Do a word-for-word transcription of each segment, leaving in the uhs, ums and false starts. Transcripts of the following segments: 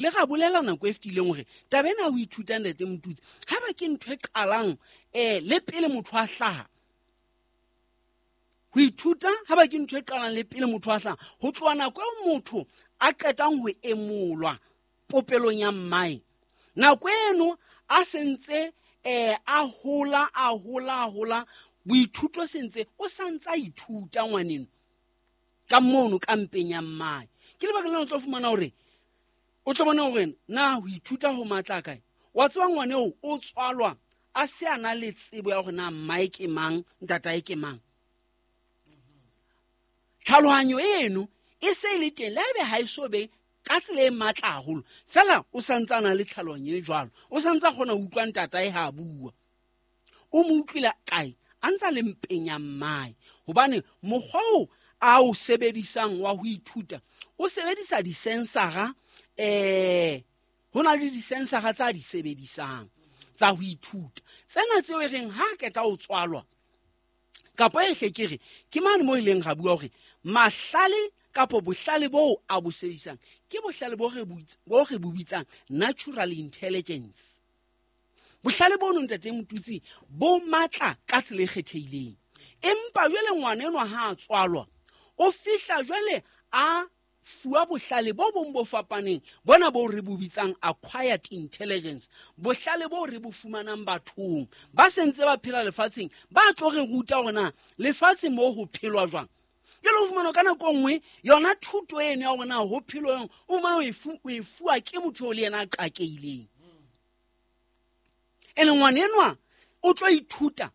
Le ra bolela nako e fetileng hore taba ena ya ho ithuta, Ntate Motutsi, ha ba ke ntho e qalang um le pele motho a hlaha. Ho ithuta ha ba ke ntho e qalang le pele motho a hlaha, ho tloha nako eo motho a qetang ho emolwa popelong ya mmae, nako eno a sentse um a hola, a hola, a hola, boithuto sentse o santse a ithuta ngwaneno ka mono ka mpeng ya mmae. Ke lebaka lena o tlo fumana hore o tlo bona hore na ho ithuta ho matla kae. Wa tseba ngwane eo o tswalwa a se a na le tsebo ya hore na mmae ke mang, ntatae ke mang. Tlhalohanyo eno e se e le teng, le haebe ha e so be ka tsela e matla haholo, fela o santse a na le tlhalohanyo e jwalo, o santse a kgona ho utlwa ntatae ha a bua. O mo utlwile kae? A ntse a le mpeng ya mmae, hobane mokgwa oo a o sebedisang wa ho ithuta, o sebedisa disensara, eh ho na le disensara tsa di sebedisang tsa ho ithuta. Tsena tseo e reng ha qeta ho tswalwa, kapa e hle ke re ke mane mo e leng ra bua hore mahlale kapo bohlale boo a bo sebedisang ke bohlale bo re bo re bo bitsang natural intelligence. Bohlale bono, Ntate Motutsi, bo matla ka tsela e kgethehileng. Empa jwale ngwana enwa ha a tswalwa, o fihla jwale a fuwa bohlale bo bong bo fapaneng, bona bo re bo bitsang acquired intelligence, bohlale bo re bo fumanang bathong ba sentse ba phela lefatsheng, ba tlo re ruta hore na lefatshe moo ho phelwa jwang. Jwale o fumana ka nako nngwe yona thuto eno ya hore na ho phelwa jwang, o fumana o e fuwa ke motho eo le yena a qakeileng. Ene ngwana enwa o tlo ithuta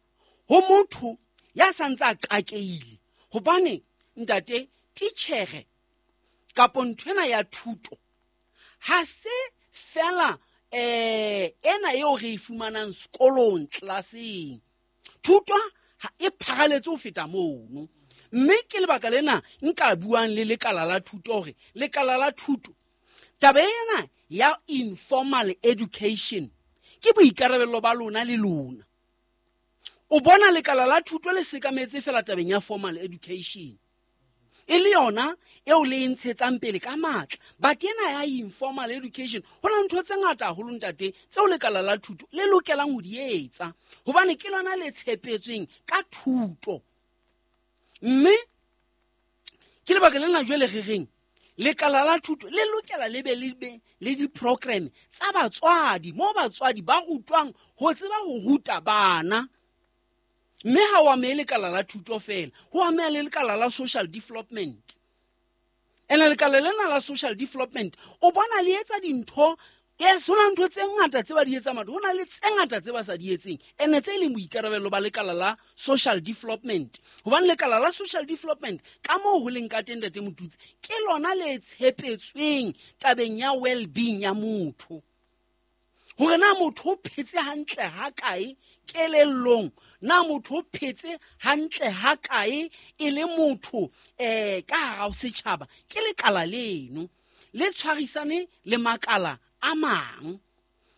ho motho ya santse a qakeile, hobane ntate titjhere kapo nthwena ya thuto ha se fela eh ena eo re e fumanang sekolong tlelaseng. Thuto ha e pharaletse ho feta mono, mme ke lebaka lena nka buang le lekala la thuto hore lekala la thuto taba ena ya informal education ke boikarabello ba lona le lona. O bona lekala la thuto le sekametse fela tabeng ya formal education, e le yona eo le e ntshetsang pele ka matla. But ena ya informal education, ho na ntho tse ngata haholo, ntate, tseo lekala la thuto le lokelang ho di etsa, hobane ke lona le tshepetsweng ka thuto. Mme ke lebaka lena jwale re reng lekala la thuto le lokela le be le be le di-program tsa batswadi, moo batswadi ba rutwang ho tseba ho ruta bana. Mme ha o amehe lekala la thuto fela, ho ameha le lekala la social development. Ene lekala lena la social development o bona le etsa dintho, yes, ho na ntho tse ngata tse ba di etsang, ho na le tse ngata tse ba sa di etseng, ene tse leng boikarabello ba lekala la social development. Hobane lekala la social development ka moo ho leng ka teng, Ntate Motutsi, ke lona le tshepetsweng tabeng ya well-being ya motho, hore na motho o phetse hantle ha kae kelellong, na motho o phetse hantle ha kae e le motho eh ka hara setjhaba. Ke lekala leno le tshwarisane le makala a mang.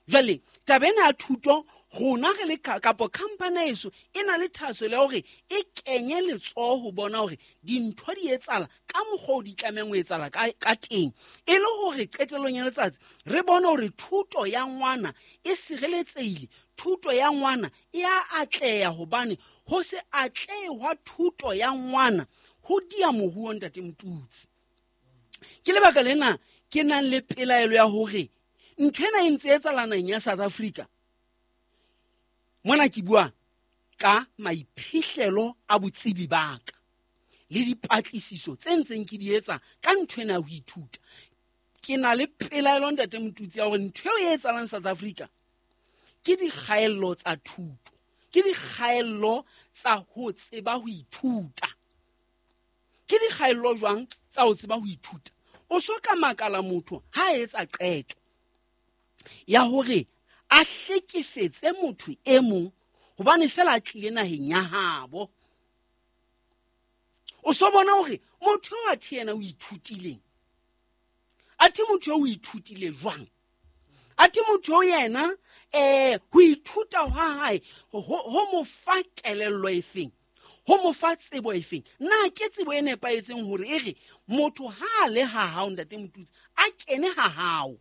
Jwale taba ena ya thuto, rona re le kapo company eso e na le thahasello ya hore e kenye letsoho ho bona hore dintho di etsahala ka mokgwa o di tlamehang ho etsahala ka, ka teng, e le hore qetellong ya letsatsi re bone hore thuto ya ngwana e sireletsehile, thuto ya ngwana e a atleha, hobane ho se atlehe hwa thuto ya ngwana ho dia moruo, Ntate Motutsi. Ke lebaka lena ke nang le pelaelo ya hore ntho ena e ntse etsahala naheng ya South Africa. Mona ke bua ka maiphihlelo a botsebi ba ka le dipatlisiso tse ntseng ke di etsa ka ntho ena ya ho ithuta. Ke na le pelaelo, Ntate Motutsi, ya hore ntho eo e etsahalang South Africa ke dikgaello tsa thuto, ke dikgaello tsa ho tseba ho ithuta. Ke dikgaello jwang tsa ho tseba ho ithuta? O so ka makala motho ha a etsa qeto ya hore a hlekefetse motho e mong hobane fela a tlile naheng ya habo. O so bona hore motho eo athe yena o ithutileng, athe motho eo o ithutile jwang, athe motho eo yena eh ho ithuta hwa hae ho mo fa kelello efeng, ho mo fa tsebo efeng. Na ke tsebo e nepahetseng hore e re motho ha a le ha hao, Ntate Motutsi, a kene ha hao